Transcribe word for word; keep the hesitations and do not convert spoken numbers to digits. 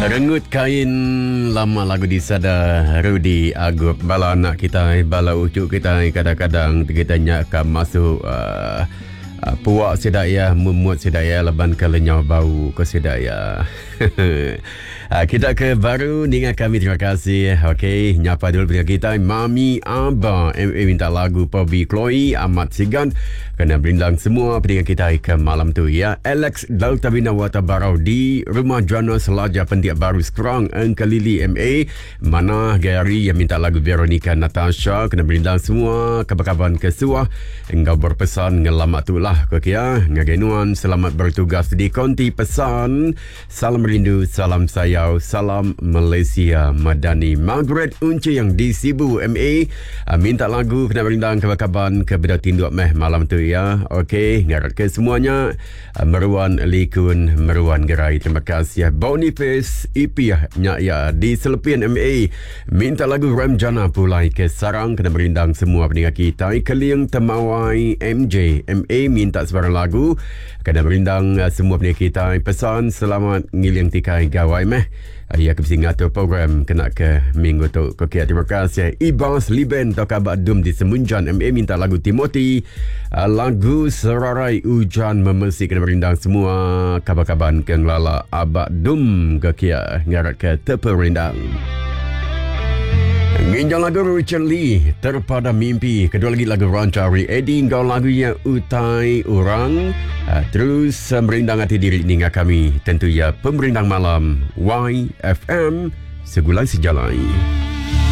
Rengut kain lama lagu disada Rudy Agup. Bala anak kita, bala ucu kita, kadang-kadang kita nyak ka masuk uh, uh, puak sida ya, memut sida ya, leban ke lenyau bau ke sida ya. uh, kita ke baru ninga kami, terima kasih. Okey, nyapa dulu dengan kita Mami Abah M A minta lagu Pobi Chloe Ahmad Sigan kena berindang semua pendengar kita ke malam tu ya. Alex Delta Bina Wata Barau di Rumah Jana Selaja Pendiak Baru Sekerang Engkelili M A. Mana Gary yang minta lagu Veronica Natasha kena berindang semua kaban-kaban ke suah engkau berpesan ngelamat tu lah ke kia ngagai nuan selamat bertugas di konti pesan. Salam rindu, salam sayau, salam Malaysia Madani. Margaret Unci yang di Sibu M A minta lagu kena berindang kaban-kaban ke beda tinduk meh malam tu ya. Okey, ngarap ke semuanya meruan likun, meruan gerai. Terima kasih. Boniface Ipiah nyak ya di Selepian M A minta lagu Ramjana Pulai ke Sarang kena berindang semua pendengar kita. Keling Temawai M J M A minta sebarang lagu kena berindang semua pendengar kita. Pesan selamat ngiling tikai gawai meh. Ya, ke ngatur program kena ke minggu tu. Okey, terima kasih. Ibas Liben atau Kabak Dum di Semunjan M A minta lagu Timothy, lagu Serarai Hujan Memesi kena berindang semua kabar-kabar ke ngelala Abak Dum ke kia ngarat ke terperindang. Nginjau lagu Richard Lee Terpada Mimpi. Kedua lagi lagu Rancari Eddie ngau lagunya Utai Orang. Terus merindang hati diri ninga kami tentu ya pemerindang malam Y F M Segulai Sejalai.